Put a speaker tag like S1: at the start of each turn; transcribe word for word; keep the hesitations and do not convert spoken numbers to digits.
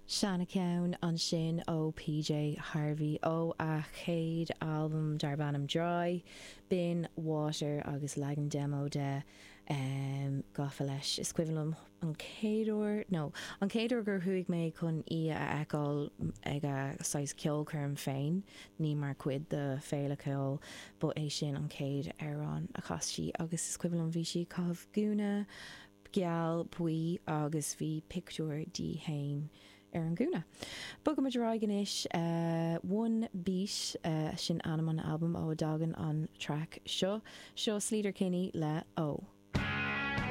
S1: Seancheann ansin ó PJ Harvey ó a chéad albam darb ainm Dry, b'in Water agus leagan demo de um, gafa leis. Is cuimhin liom an chéad uair nó an chéad uair gur chuaigh mé chun í a fheiceáil ag a saghas ceolchoirm féin, ní mar chuid de féile ceoil, ba é sin an chéad amhrán a chas sí agus is cuimhin liom bhí sí ag caitheamh gúna geal buí agus bhí pictiúr di féin ar an gúna. Bogaimid ar aghaidh anois uh, One Beat uh, sin ainm an albam ó a dtagann an track seo, seo Sleater Kinney le Ó.